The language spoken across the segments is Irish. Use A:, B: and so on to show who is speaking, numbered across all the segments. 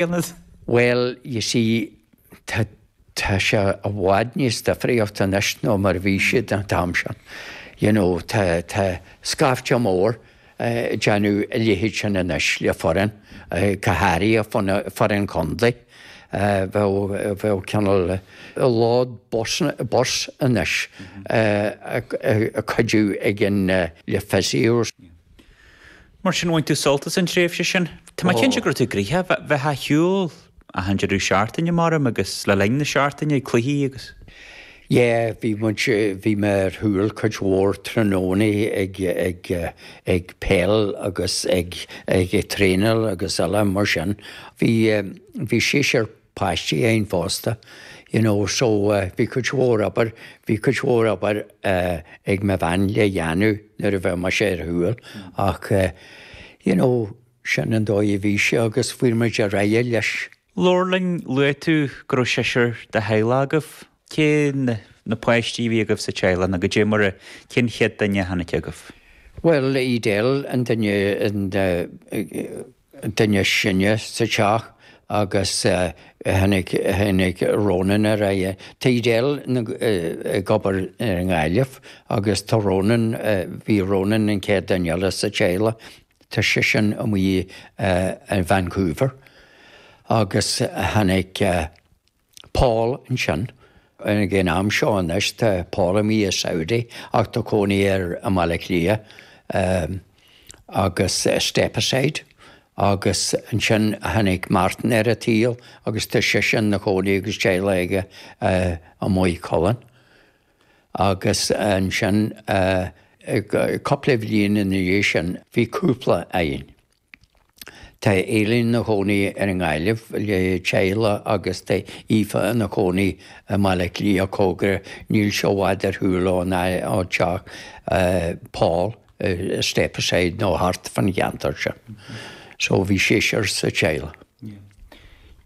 A: aonad?
B: Bhuel, you see, tá, tá sé i bhfad níos difríocht anois ná mar a bhí siad an t-am sin. You know, tá, tá scaifte mór ag déanamh a leithéid sin anois le foireann, go háirithe foireann contae. Bheadh, bheadh cineál load bus, bus anois ag cuidiú ag an, le physios.
A: Mar sin, bhain tú sult as an tréimhse sin. Tá mé cinnte go raibh tú gnoitheach, bheith ar shiúl achan deireadh seachtaine, maram, agus le linn na seachtaine ag cluichí agus.
B: Yeah, bhí muid, bhí mé ar shiúl cuid mhór tráthnónaí ag, ag, ag peil agus ag, ag traenáil agus eile mar sin. Bhí, bhí seisear páistí againn fosta, you know, so bhí cuid mhór obair, bhí cuid mhór obair ag mo bhean le dhéanamh nuair a bheadh mise ar shiúl ach you know, sin an dóigh a bhí sé agus fuair muid ar aghaidh leis.
A: Labhair linn, luaigh tú go raibh seisear de theaghlach agaibh. Cé na páistí a bhí agaibh sa teaghlach nó goidé mar a, cén chéad duine a tháinig chugaibh?
B: Bhuel, Edel an duine, an duine is sine sa teach agus tháinig, tháinig Ronan ar aghaidh. Tá Edel ag obair ar an nGaillimh agus tá Ronan, bhí Ronan an chéad duine eile sa teaghlach, tá seisean amuigh i Vancouver agus tháinig Paul ansin. Ag an am seo anois tá Paul amuigh i Saudi ach tá cónaí air i mBaile Átha Cliath agus Stepaside agus ansin tháinig Martin ar an tsaol agus tá seisean ina chónaí agus teaghlach aige i Maigh Cuilinn. Agus ansin cúpla bhliain ina dhiaidh sin bhí cúpla againn. Tá Aileen ina chónaí ar an nGaillimh le teaghlach agus tá Aoife ina cónaí i mBaile Átha Cliath cóngarach, níl sé i bhfad ar shiúl ón teach Paul i Stepaside nó thart fan cheantar sin. So bhí seisear sa teaghlach.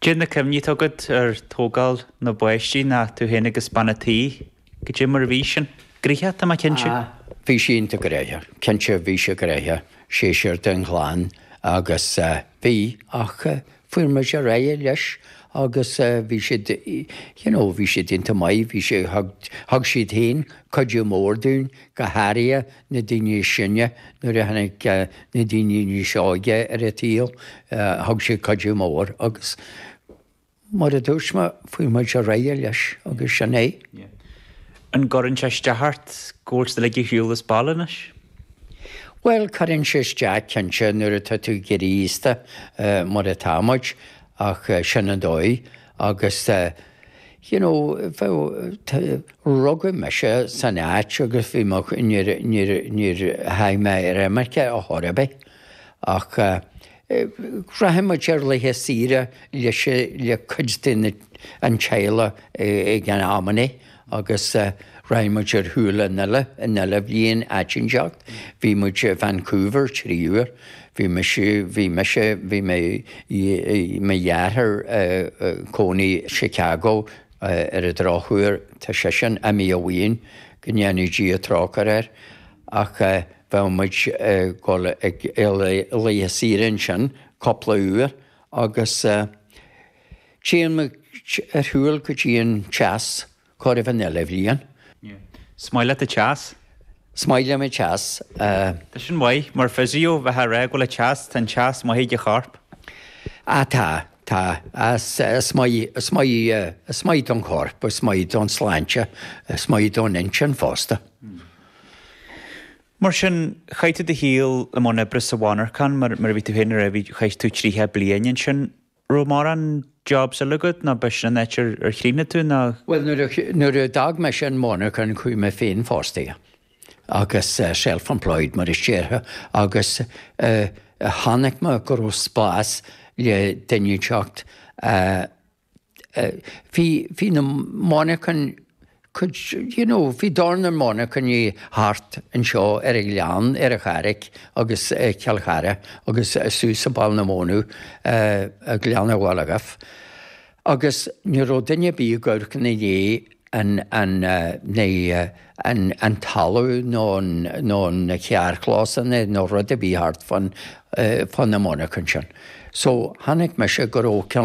A: Cad é na cuimhní atá agat ar tógáil na bpáistí ná tú féin agus bean a' tí? Goidé mar a bhí sin? Gnoitheach, tá mé cinnte.
B: Ah, bhí sé iontach gnoitheach. Cinnte, bhí sé gnoitheach. Seisear den chlann agus bhí, ach fuair muid ar aghaidh leis agus bhí siad, you know, bhí siad iontach maith, bhí sé, thug, thug siad féin cuidiú mór dúinn, go háirithe na daoine is sine, nuair a tháinig na daoine níos óige ar an tsaol, thug siad cuidiú mór agus Mar a dúirt mé, fuair muid ar aghaidh leis agus sin é.
A: An gcuireann sé isteach ort go bhfuil siad uilig ar shiúl as baile anois?
B: Bhuel, cuireann sé isteach cinnte nuair atá tú ag éirí aosta mar atá muid ach sin an dóigh agus you know bheadh, rugadh mise san áit agus bhí mo, níor, níor, níor tháinig mé ar imirce ar chor ar bith ach Rachaidh muid ar laethe saoire leis le cuid de an teaghlach ag an amannaí agus rachaidh muid ar shiúl an uile an uile bhliain áit inteacht. Bhí muid i Vancouver 3 uair. Bhí mise, bhí mise, bhí mé, mo dheartháir cónaí Chicago ar an drochuair tá seisean imithe uainn, go ndéana Dia trócaire air, ach bheadh muid ag dul ag laethe saoire ansin cúpla uair agus téann muid ar shiúl go dtí an teas chóir a bheith an uile bhliain.
A: Is maith leat an teas?
B: Is maith liom an teas.
A: Tá sin maith, mar physio, bheith á rá go bhfuil an teas, tá an teas maith ag an chorp.
B: Ah tá, tá. Is maith, is maith, is maith don chorp, is maith don sláinte, is maith don intinn fosta.
A: Mar sin, chaith tú do shaol i mbun oibre sa mhonarchan, mar a bhí tú féin a rá, bhí, chaith tú 30 bliain ansin. Raibh mórán jobs eile agat nó b'shin an áit ar chríochnaigh tú nó?
B: Bhuel, nuair a, nuair a d'fhág mise an mhonarchan chuaigh mé féinfhostaithe agus self-employed mar a déarfá agus chonaic mé go raibh spás le duine inteacht a Bhí, bhí na monarchain, cuid, you know, bhí dornán monarchanaí thart anseo ar an Ghleann, ar an Charraic agus i Cill Chartha agus suas i Baile na Mónadh, i Gleann an Bhaile Dhuibh. Agus ní raibh duine ar bith ag amharc ina dhiaidh an, an, na, an, an talamh nó an, nó na carrchlósanna nó rud ar bith thart fán, fá na monarchain sin. So chonaic mise go raibh cineál.